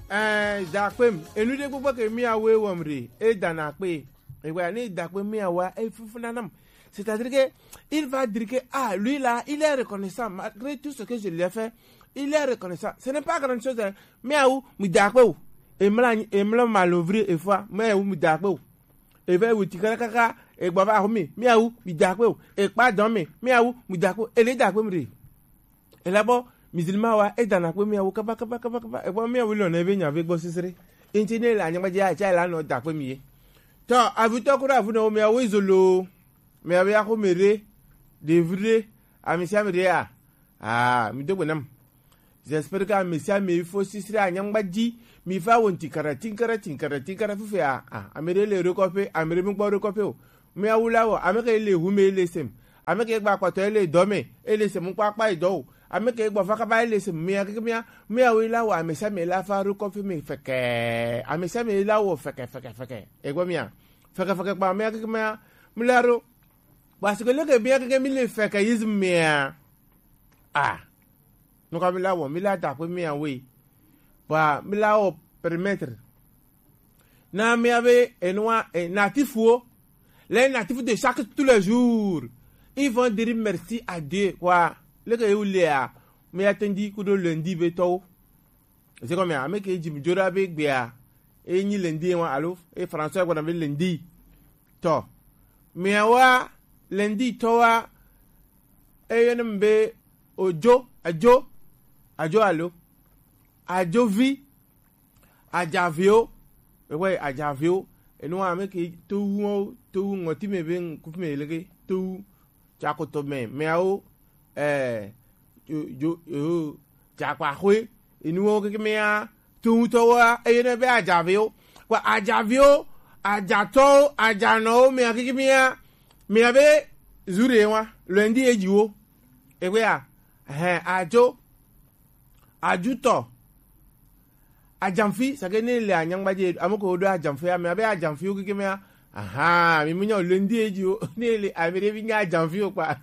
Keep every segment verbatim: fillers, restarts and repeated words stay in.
Eh, dakpem, enu ɖe gbogbo ke miawoe wɔm ɖe, edana kpe. Ewa, ne dakpem miawoa, efufuna nam. C'est-à-dire que il va dire que, ah, lui là, il est reconnaissant malgré tout ce que je lui ai fait. Il est reconnaissant. Ce n'est pas grande chose, hein. Miawu, mi dakpe o. Emla, emla malovri efua, miawu, mi dakpe o. Eve wuti kaka kaka, egba va ho mi, miawu, mi dakpe o. Ekpa dɔn mi, miawu, mi dakpe o. Ele dakpe mi ɖe. Ela bɔ, musulman wa, edana kpe miawu kaba, kaba, kaba, kaba. Ekpɔ miawu lɔ ne ve nya ve gbɔ sisire. Inti ne le anyagba dzi, atsa la nɔ dakpe mi ye. Tɔ, avutɔ kura avu nɔ miawu izolo. Miabe axome ɖe, ɖevi ɖe, amesiame ɖe ya. Ah, mi do gbe nam. J'espère que amesiame fo sisire anyagba dzi. Mi fa wo tinkara, tinkara, tinkara, tinkara fifia. Ah, ame ɖe le ɖokɔƒe, ame ɖe mi gbɔ ɖokɔƒe o. Miawu la wɔ, ame ke le hu me le sem. Ame ke gba kpɔtɔ ele dɔ me, ele sem kpakpa edɔ o. Ame ke gbɔ fa kaba ele sem mia keke mia, miawu la wɔ, amesiame la fa ɖokɔƒe me fɛkɛ. Amesiame la wɔ fɛkɛ, fɛkɛ, fɛkɛ. Egbɔ mia. Fɛkɛ, fɛkɛ kpa mia keke mia, mi la ɖo. Parce que leke mia keke mi le fɛkɛ yiz mia. Ah. Nuka mi la wɔ, mi la dakpe miawoe. Ba, mi la wɔ permettre. Na miabe enua, eh, natif wo. Les natifs de chaque, tous les jours. Ils vont dire merci à Dieu, quoi. Leke ye wu lea, mia tendi kudo lundi be tɔwo. C'est comme ame ke dzi mi dzo ɖa be gbea, e nyi lundi wa alo, e François gbɔna be lundi. Tɔ. Miawa lundi tɔwa, e yɔna mi be ojo, ajo, ajo alo. Ajovi, ajaviwo, ewe ajaviwo, enu ame ke towu, towu ŋɔti me be ŋkufi me leke, towu, tsakoto me, meawo, eh, jo, jo, jo, jakpaxwe, enuwo keke mea, towutɔwoa, eye ne be ajaviwo. Kpa ajaviwo, ajatɔwo, ajanɔwo, mea keke mea, mea be zu ɖe wa, lundi edziwo. Egbea, hɛn, ajo, ajutɔ, ajamfi, sake ne le anyangba dzi, ame ko ɖo ajamfi, ame abe ajamfiwo keke mea, aha, mi munya lundi edziwo, ne le ame ɖe bi nya ajamfiwo kpa.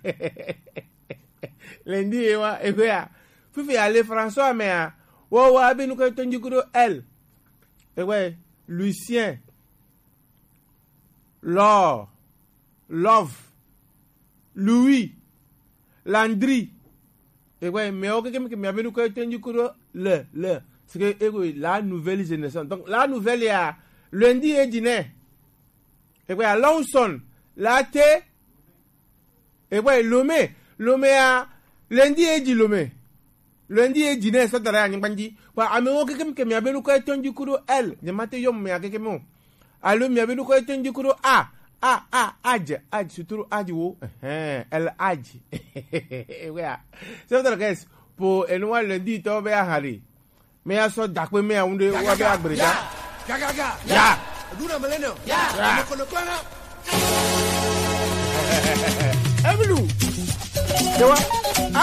Lundi ye wa, egbea. Fifi ale François mea, wo wa be nuko to ndi kudo L. Ewe, Lucien, Laure, Love, Louis, Landry. Ewe, mewo keke meke mea be nuko to ndi kudo le, le. C'est que, ewe, la nouvelle génération. Donc, la nouvelle ya, lundi e dine. Ewe, Lawson, la te, Egbɔ lome, lome ya, lundi e dzi lome. Lundi e dzi ne sɔ da ɖe anyigba dzi. Kpa amewo keke mi ke mia be nukɔ etɔn dzi ku ɖo L. Nye ma te yɔ mia keke mi o. Alo mia be nukɔ etɔn dzi ku ɖo A. A, A, adze, adze, suturu adze wo. Ɛhɛn, El adze. Ewe ya. Sɔ da ɖe guys, po enu wa lundi tɔ be aha ɖe. Me ya sɔ dakpe me ya ŋu ɖe wa be agble da. Ya. Ya. Eɖu na mele ne o. Ya. Ya. Nɔkɔ nɔkɔ na. Emilu. Ewa.